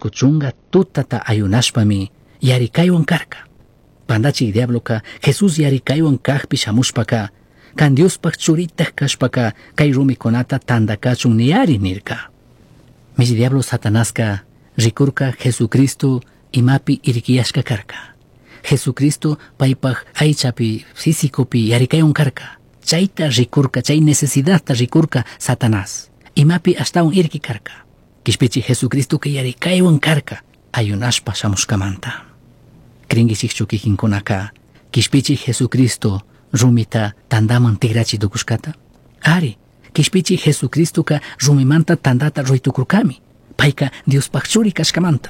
Chuscu chunga tutata ayunashpami yaricaihuan carca. Pandachij diabloca Jesús yaricaihuan cajpi shamushpaca, can Diospaj churitaj cashpaca cai rumicunata tanda cachun niyari nirca. Mishi diablo Satanasca ricurca Jesucristo imapi irquiyashca carca. Jesucristo paipaj aichapi físicopi yaricaihuan carca. Chaita ricurca, chay necesidadta ricurca Satanás. Imapi ashtawan irqui carca. Quishpichi Jesucristoca yaricaihuan carca ayunashpa shamushcamanta. Cringuichikchu kikinkunaka Quishpichi Jesucristo rumita tandaman tigrachi tukushkata? Ari, Quishpichi Jesucristoca rumimanta tandata rurai tucurcami. Paica Diospaj churi cashcamanta.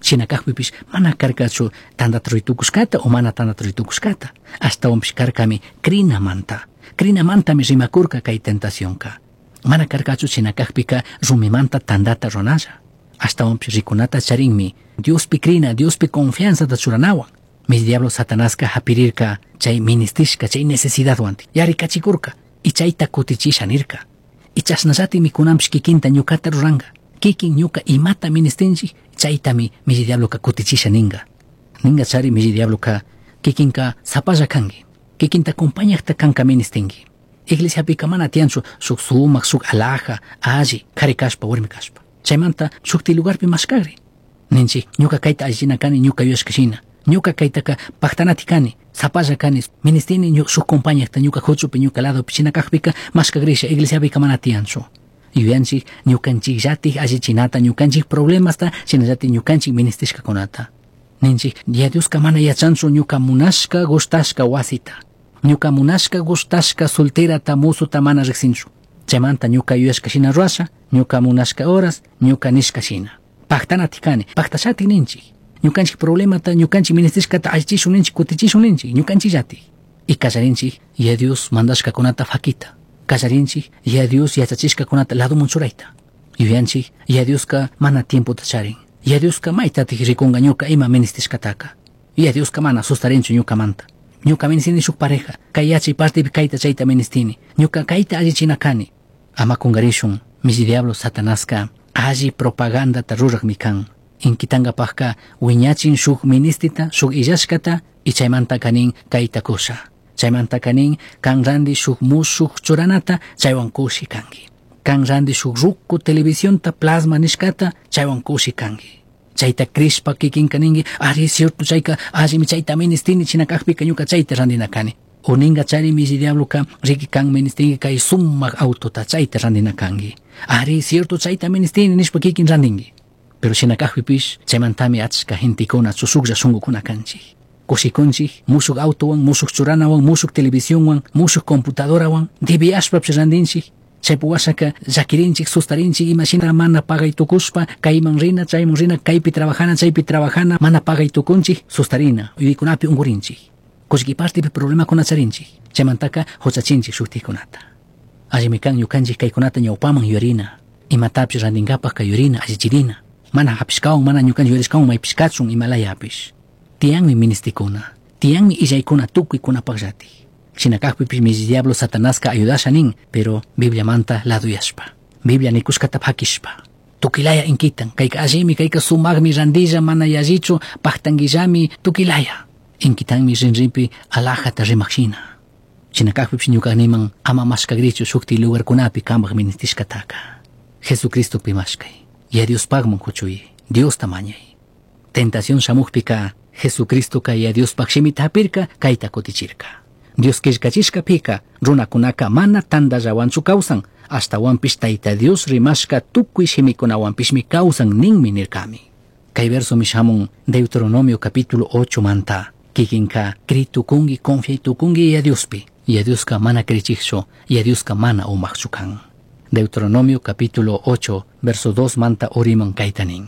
Shina cajpipish mana carcachu tandata rurai tucushcata o mana tandata rurai tucushcata. Ashtawanpish carcami crinamanta. Crinamantami rimacurca cai tentacionca. Mana carcachu shina cajpica rumimanta tandata ruranalla. Ashtawanpish ricunata charinmi Diospi crina, Diospi confianzata churanahuan. Mishi diablo Satanasca japirirca chay ministishca, chay necesidadhuan yaricachicurca y chayta kutichisha nirca. Y chashnallatimi kunanpish kikinta ñukata ruranga. Kikin ñuka imata ministinchik chaytami mishi diabloka kutichisha ninga. Ninga chari mishi diabloka kikinka sapalla kanki. Kikinta acompañajta kanka ministinki. Iglesiapika mana tiyanchu shuk sumak, shuk alhaja, alli, kari kashpa, warmi kashpa. Chaymanta shukti lugarpi mashkagri. Ninchik, ñuka kayta allichina kani, ñuka yuyashka shina. Ñuka kaytaka pajtanati kani, sapalla kani, ministini shuk compañajta ñuka huchupi, ñuka ladopi, shina kajpika mashkagrisha, iglesiapika mana tiyanchu. Yuyanchik ñukanchikllatik allichinata, ñukanchik problemasta, shinallatik ñukanchik ministishkakunata. Ninchik, ya Dioska mana yachanchu ñuka munashka gustashka wasita. Ñuka munashka gustashka solterata, musuta mana riksinchu. Chaymanta ñuka yuyashka shina rurasha, ñuka munashka horas, ñuka nishka shina. Pajtanati kani, pajtashatik ninchik. Ñukanchik problemata, ñukanchik ministishkata allichishun ninchik, kutichishun ninchik, ñukanchikllatik. Y kallarinchik, ya Dios mandashkakunata fakita. Kallarinchik, ya Dios yachachishkakunata ladoman churayta. Yuyanchik, ya Dioska mana tiempota charin. Ya Dioska maytatik rikunga ñuka ima ministishkataka. Ya Dioska mana sustarinchu ñukamanta. Ñuka ministini shuk pareja, kay yachay partipi kayta chayta ministini. Ñuka kayta allichina kani. Ama kungarishun, mishi diablo Satanaska alli propagandata rurakmi kan. Inkitankapajka wiñachin shuk ministita, shuk illashkata y chaymanta kanin kayta kusha. Chaymanta kanin kan randi shuk mushuk churanata chaywan kushi kanki. Kan randi shuk ruku televisionta plasma nishkata chaywan kushi kanki. Chayta crishpa kikinka ninki, ari cierto chayka allimi chayta ministini china kajpika ñuka chayta randina kani. O ninga chari mishi diabloka riki kan ministinki kay sumak autota chayta randina kanki. Ari cierto chayta ministini nishpa kikin randinki. Pero shina kajpipish chaymantami achka gentekuna chushuklla shunkukuna kanchik. Kushikunchik mushuk autowan, mushuk churanawan, mushuk televisionwan, mushuk computadorawan, debiyashpapish randinchik. Chaypi washaka llakirinchik, sustarinchik, imashina mana pagay tukushpa, kayman rina, chayman rina, kaypi trabajana, chaypi trabajana, mana pagay tukunchik, sustarina, yuyaykunapi ungurinchik. Kullki partipi problemakuna charinchik, chaymantaka huchachinchik shuktikunata. Allimi kan ñukanchik kaykunata ñawpaman yuyarina, imatapish randinkapajka yuyarina, allichirina. Mana hapishkawan, mana ñukanchik yuyarishkawan maypish kachun imalayapish. Tiyanmi ministikuna, tiyanmi illaykuna tukuykunapakllatik. Shina kajpipish mishi diablo Satanaska ayudasha nin, pero Bibliamanta laduyashpa. Biblia nikushkata pakishpa. Tukilaya inkitan, kayka allimi, kayka sumakmi randilla, mana yallichu, paktanguillami, tukilaya. Inkitanmi rinrinpi alhajata rimak shina. Shina kajpipish ñuka niman ama mashkagrichu shukti lugarkunapi kampak ministishkataka. Jesucristopi mashkay. Ya Diospakman kuchuy, Diosta mañay. Tentación shamukpika, Jesucristoka ya Diospaj shimita hapirka, kayta kutichirka. Dios killkachishkapika, runakunaka mana tandallawanchu kawsan, ashtawanpish Tayta Dios rimashka tukuy shimikunawanpishmi kawsan ninmi nirkami. Kay versomi shamun Deuteronomio capítulo 8 manta. Kikinka critukunki, confiaytukunki ya Diospi. Ya Dioska mana krichikchu, ya Dioska mana umakchu kan. Deuteronomio capítulo 8, verso 2 manta uriman kayta nin.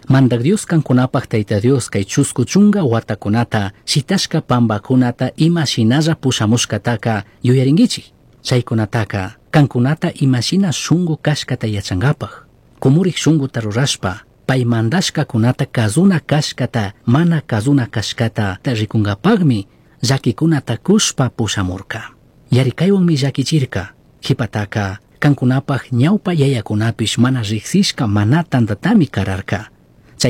Mandak Dios kankunapaj Tayta Dios kay chusku chunga watakunata shitashka pambakunata ima shinalla pushamushkataka yuyarinkichik. Chaykunataka kankunata imashina shunku kashkata yachankapaj. Kumurik shunkuta rurashpa pay mandashkakunata kazuna kashkata mana kazuna kashkata rikunkapakmi llakikunata kushpa pushamurka. Yarikaywanmi llakichirka. Qhipataka kankunapaj ñawpa yayakunapish mana riqsishka mana tantatami kararka.